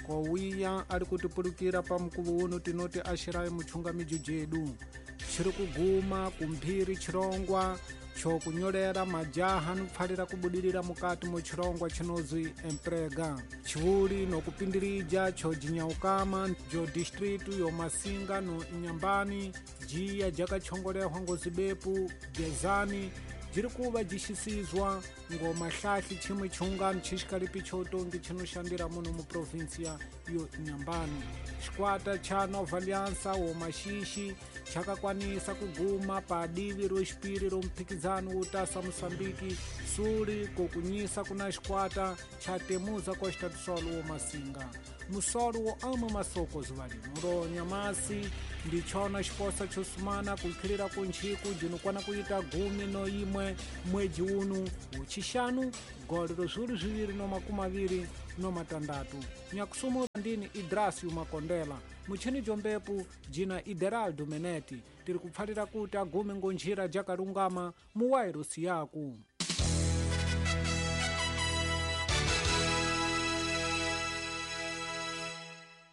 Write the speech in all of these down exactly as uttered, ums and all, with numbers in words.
Kowiya ari kutipulukira pa mukuvo uno tinoti axirayi muchungamijo jedu chiri kuguma kumphiri chirongwa chokunyolera majaha nupfalira kubudirira mukati mu chirongwa chinozwi emprega chivuli nokupindirija chojinyawukama jo distritu yo Masinga no Inyambani jiya jakachongolehwa ngozibepu Gezani jiri kuva jixisizwa ngomahlahli chimwe chiungano chixikalipi chotongi chinoshandira muno mu provinsia yo Inyambani. Xikwata cha Nova Aliança wo Maxixi chakakwanisa kuguma pa divi ro xipiri ro mphikizano wo tasa Moçambique suli kokunyisa kuna xikwata cha Temuza Costa do Sol wo Masinga. Musolo wo ama masoko zuva lino ro nyamasi ndichona xiposa chosumana kukhilira kunchiku jinokwana kuita gumi no imwe mwedzi unu uchixanu gole ro zviwiri zviviri no makumi aviri no matandatu. Nyakusumura ndini Idrasio Makondela muchini jombepu jina Ideraldo Meneti tiri kupfalira kuti agume ngonjira jakalungama muwairusi yaku.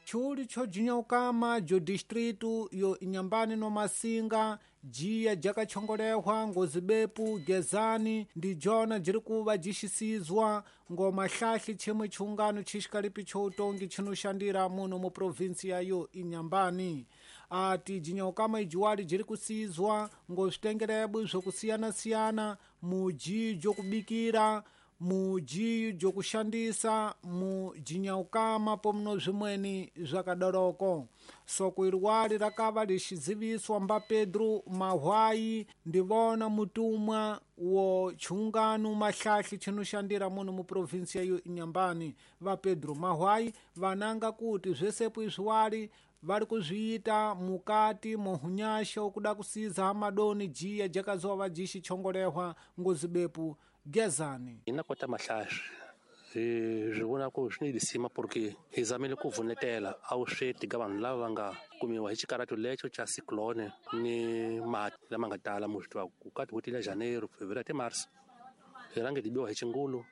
Chuli chojinyawukama jo distritu yo Inyambani no Masinga jiya jakachongolehwa ngozibepu Gezani ndi jona jiri kuva jixisizwa ngomahlahli chimwe chiungano chixikalipi choutongi chinoshandira muno mu provinsia yo Inyambani. Ati jinyawukama ijiwali jiri kusizwa ngozvitengerebwi zvokusiyana-siyana muji jokubikira muji jokushandisa mujinyaukama pomno zvimweni zvakadoroko. Soko iriwali rakava lixiziviswa mba Pedro Mahwai ndivona mutumwa wo chiungano mahlahli chinoshandira muno mu provinsia yo Inyambani. Va Pedro Mahwai vananga kuti zvesepo izviwali vari kuzviita mukati mohunyasha okuda kusiza hamadoni jiya jakazova jixichongolehwa ngozibepu Gezani. Hina kota mahlahli hi swi vona ku swi ni lisima porque hi zamile ku vunetela a wu sweti ka vanhu lava va nga kumiwa hi xikarato lexo xa cyclone ni mati lama nga tala mu swi tiva ku ka tin'hweti ta Janeiro, Fevereiro te Março hi rhange hi biwa hi xingulu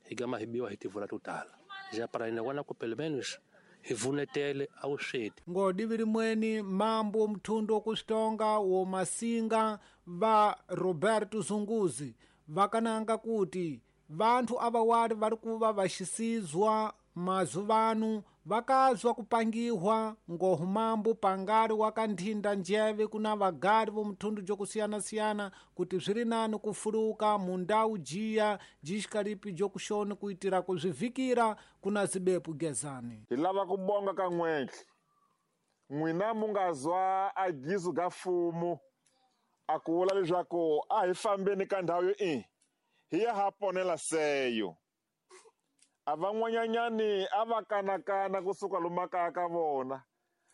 hi gama hi biwa hi tivula to tala ja para hina vona ku pelo menos hi vunetele a wu sweti. Ngodivi rimweni mambo mthundo wokuxitonga wo Masinga va Roberto Zunguzi vakananga kuti vanthu avawali vari kuva vaxisizwa mazuvanu vakazwa kupangiwa ngohumambo pangari wakanthinda njeve kuna vagari vomthundu jokusiyana-siyana kuti zviri nani kufuluka mundau jiya jixikalipi jokuxoni kuitira kuzvivhikira kuna zibepu Gezani. Hi lava ku bonga ka n'wentlhe n'wina mu nga zwa agizo ga fumo a ku vula leswaku a hi fambeni ka ndhawu yo i hi ya ha ponela seyo. A van'wanyanyani a va kanakana kusuka lomu kaya ka vona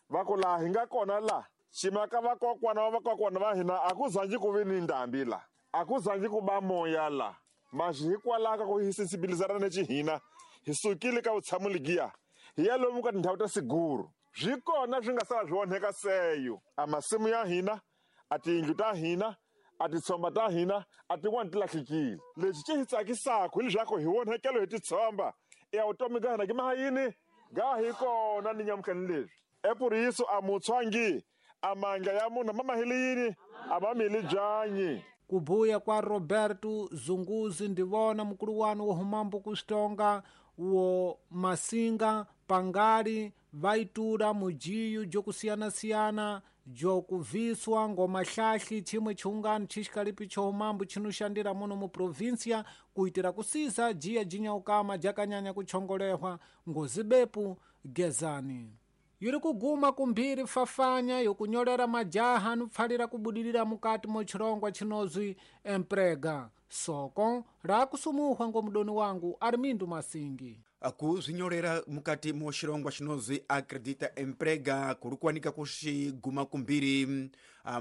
va ku laha hi nga kona la ximaka vakokwana va vakokwana va hina a ku zangi ku vi ni ndhambi la a ku zangi ku ba moya la maxi hikwalaho ka ku hi sensibilizana ni xihina hi sukile ka vutshamo legiya hi ya lomu ka tindhawu ta siguru swi kona swi nga sala swi onheka seyo a masimu ya hina a tiyindlu ta hina a titshomba ta hina a tin'wani ti lahlekile. Lexi xi hi tsakisaka hileswaku hi onhekelo hi titshomba ya vutomi ga hina ki maha yini ga hi kona ni nyamutlhani leswi epuriso a mutshwangi a mandla ya munhu ma mahile yini a ma mili byanyi. Kubuya kwa Roberto Zunguzi ndivona mukuluwani wo humambo kuxitonga wo Masinga pangali vaitula mujiyu jokusiyana-siyana jokuviswa ngomahlahli chimwe chiungano chixikalipi chohumambo chinoxandira muno mu provinsia kuitira kusiza jiya jinyawukama jakanyanya kuchongolehwa ngozibepu Gezani. Yiri kuguma kumphiri fafanya yokunyolera majaha nupfalira kubudirira mukati mo chirongwa chinozwi emprega. Soko rakusumuhwa ngomudoni wangu Armindo Masingi. Kuzvinyorera mukati mo xirongwa xinozwi Acredita Emprega kuri kuwanika kuxiguma kumbiri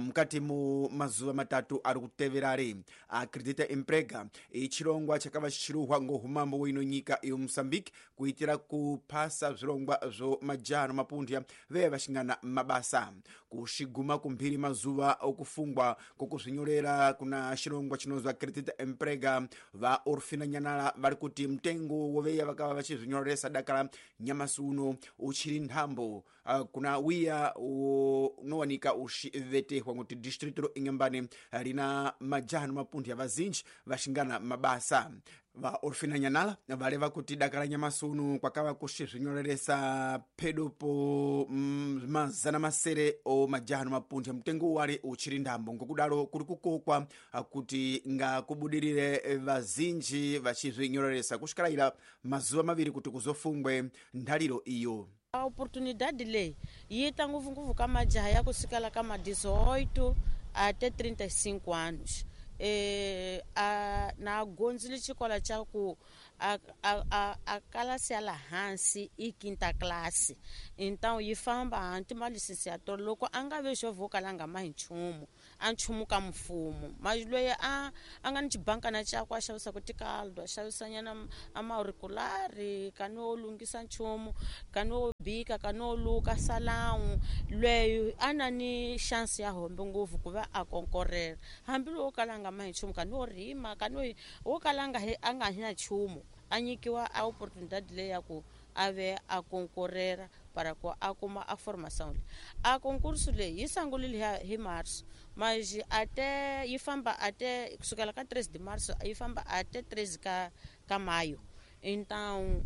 mukati mu mazuva matatu ari kuteverari. Acredita Emprega ichirongwa chakava chichiruhwa ngohumambo wino nyika iyo Mozambique kuitira kuphasa zvirongwa zvo majaha no mapunthya veye vachingana mabasa. Kuxiguma kumphiri mazuva okufungwa kokuzvinyorera kuna chirongwa chinozwa Acredita Emprega, va Orfina Nyanala vari kuti mtengo woveya vakava vachizvinyoresa dakala nyamasi uno uchiri nthambo uh, kuna wiya unowanika uxivetehwa kuti distrito ro Inhambane rina majaha no mapunthya vazinji vaxingana mabasa. Va Orfina Nyanala valeva kuti dakala nyamasi uno kwakava kuxizvinyoreresa phedo po mm, mazana masere o majaha no mapunthya mtengo wale uchiri nthambo, ngokudalo kuri kukokwa kuti ngakubudirire vazinji vachizvinyoreresa kusvikiraira mazuva maviri kuti kuzofungwe nthaliro iyo. A oportunidade leyi yi ta ngopfungopfu ka majaha ya kusukela ka ma dezoito até trinta e cinco anos. E, a, na gondzile xikolo xa ku a, a, a, a kalasi ya la hansi i quinta classe, então yi famba hanti ma licenciatura loko a nga ve xo kala a nga mahi nchumu a nchumu ka mfumo mas loyi a a nga ni xibankana xakwe a xavisaka tikaldo a xavisanyana a mauriculari kani wo lunghisa nchumu kani wo bika kani wo luka salawu loyi a na ni chance ya hombe ngopfu ku va a konkorela hambi lowo kala a nga mahi nchumu kani wo rima kani wo kala a nga a nga na nchumu a nyikiwa a oportunidade leyi ya ku a ve a konkorera para ku a kuma a formação leyi. A concurso leyi yi sungulile hi março mas até yi famba até kusukela ka treze de março yi famba até treze ka ka maio. Então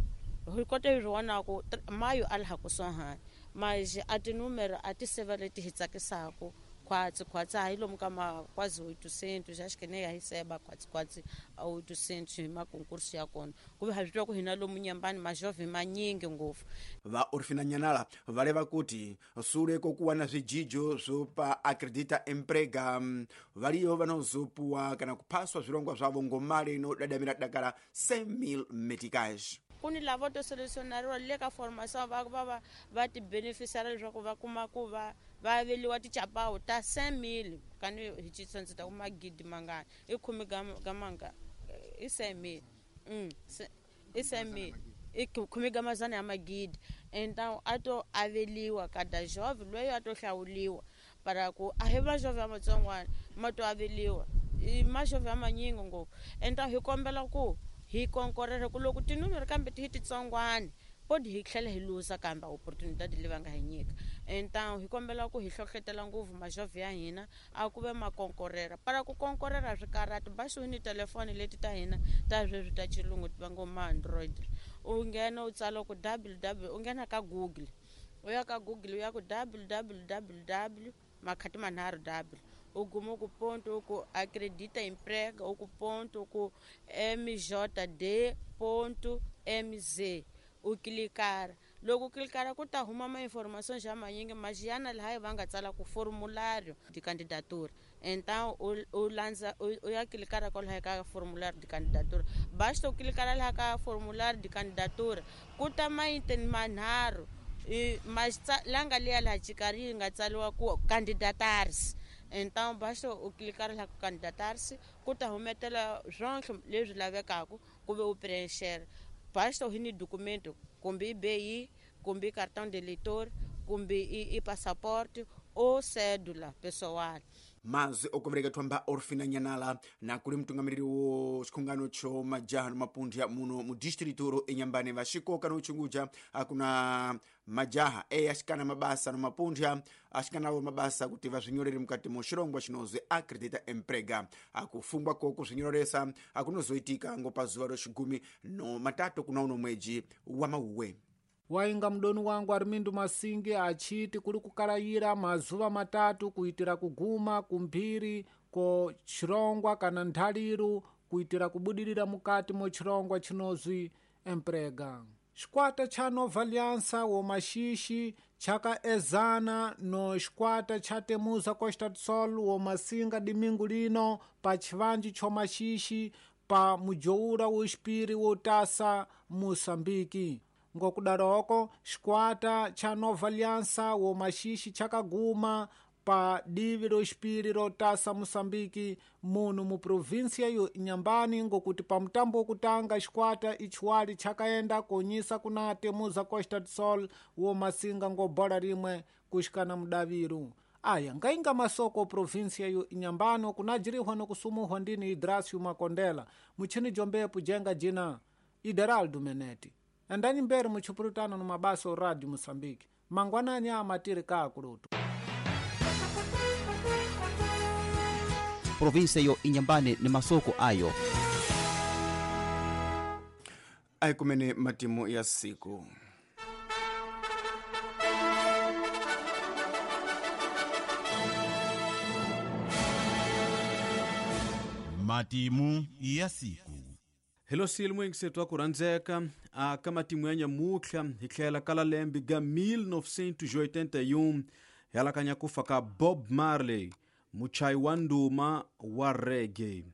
hi kota hi vona ku maio a laha kusuhani mas a tinúmero a ti seva leti hi tsakisaka khwatsi khwatsi a hi lomu ka ma quase oitocentos, acho que nem a receba quase quase a oitocentos hi makonkurso ya kona ku ve ha swi tiva ku hina lomu Nyambani majovhem manyingi ngopfu. Va Orfina Nyanala valeva kuti sule kokuwana zvijijo zvopa Acredita Emprega variyo vanozopuwa kana kuphaswa zvirongwa zvavo ngomali inodadamira dakala cem mil meticais. Ku ni lavo to selecionariwa le ka formação va va va va ti beneficiara leswaku va kuma ku va va aveliwa tichapawu ta cem mil kani hi xitsonga ta ku magidi mangani i khume ga ga manga i cem mil mm i cem mil i khume ga mazana ya magidi. Então a to aveliwa kada jovem loyi a to hlawuliwa para ku a hi va jovem matsongwana ma to aveliwa i majovem manyingi ngopfu. Então hi kombela ku hi konkorera ku loko tinúmero kambe ti hi titsongwana podi hi tlhela hi luza kambe oportunidade leyi va nga hi nyika. Então hi kombela ku hi hlohletela ngopfu majovhe ya hina a ku ve ma konkorera para ku konkorera swikarhati basi ni telefoni leti ta hina ta sweswi ta xilungu ti va ngo ma Android u nghena u tsala ku www u nghena ka Google u ya ka Google u ya ku www makhati manharhu w u guma ku ponto ku Acredita Emprega u ku ponto ku M J D ponto M Z u clicar loko u clicara ku ta huma ma information xa manyingi maxiyana laha va nga tsala ku formulário de candidatura. Então u landza u ya clicara kwalaho ka formulário de candidatura basta u clicara laha ka formulário de candidatura ku ta maiten manharhu mas la nga liya laha xikarhi yi nga tsariwa ku candidatars. Então basta u clicar laha ku candidatar-se ku ta humetela swonke leswi lavekaka ku ve u preencher basta u hi ni documento kumbe i B I kumbe i cartão de eleitor kumbe i, i passaporte ou cédula pessoal. Mazwi okuvereka thwamba Orfina Nyanala na kuli mtungamiriri wo xikhungano cho majaha no mapunthya muno mu distrito ro Inhambane vaxikoka no chunguja akuna majaha e axikana mabasa no mapunthya axikanawo mabasa kuti vaswinyorere mukati mo xirongwa xinozwi Acredita Emprega. Akufungwa koko swinyoreresa akunozoitika ngo pazuva ro xigumi no matatu kuna uno mweji wa mauwe. Wainga mdoni wangu Armindo Masingi achiti kuri kukalayira mazuva matatu kuitira kuguma kumphiri ko chirongwa kana nthaliru kuitira kubudirira mukati mo chirongwa chinozwi Emprega. Xikwata cha Nova Aliança wo Maxixi chakaezana no xikwata cha Temuza Costa do Sol wo Masinga domingo lino pa chivanji cho Maxixi pa mujoura wo xipiri wo tasa Moçambique. Ngokudaroko xikwata cha Nova Aliança wo Maxixi chakaguma pa divi loxipiri rotasa Moçambique muno mu província yo Inhambane, ngokuti pa mutambo wokutanga xikwata ichiwali chakaenda konyisa kuna Temuza Costa do Sol wo masinga ngo bola rimwe kuxikana mudaviru. Aya ngainga masoko província yo Inhambane kunajirihwa nokusumuhwa ndini Idrasio Makondela muchini jombepu jenga jina Ideraldo Meneti. Andani mbere muchipurutano no mabasa o Rádio Moçambique. Mangwanani amatiri kaakulutu. Província yo Inhambane ni masoko ayo. Aikumene matimu ya siku. Matimu ya siku. Helo silimo ngisethu akurandzeka aka matimu ya nyamutlha hi tlhela kala lembe ga mil novecentos e oitenta e um hi alakanya kufa ka Bob Marley, muchayi wa nduma wa reggae.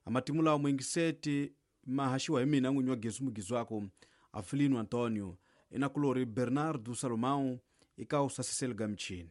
Amatimu lawa mwingiseti mahaxiwa hi mina n'winyi wa Gezu Mugizwako Avelino Antonio, inakulori Bernardo Salomão ika usasiseli ga michini.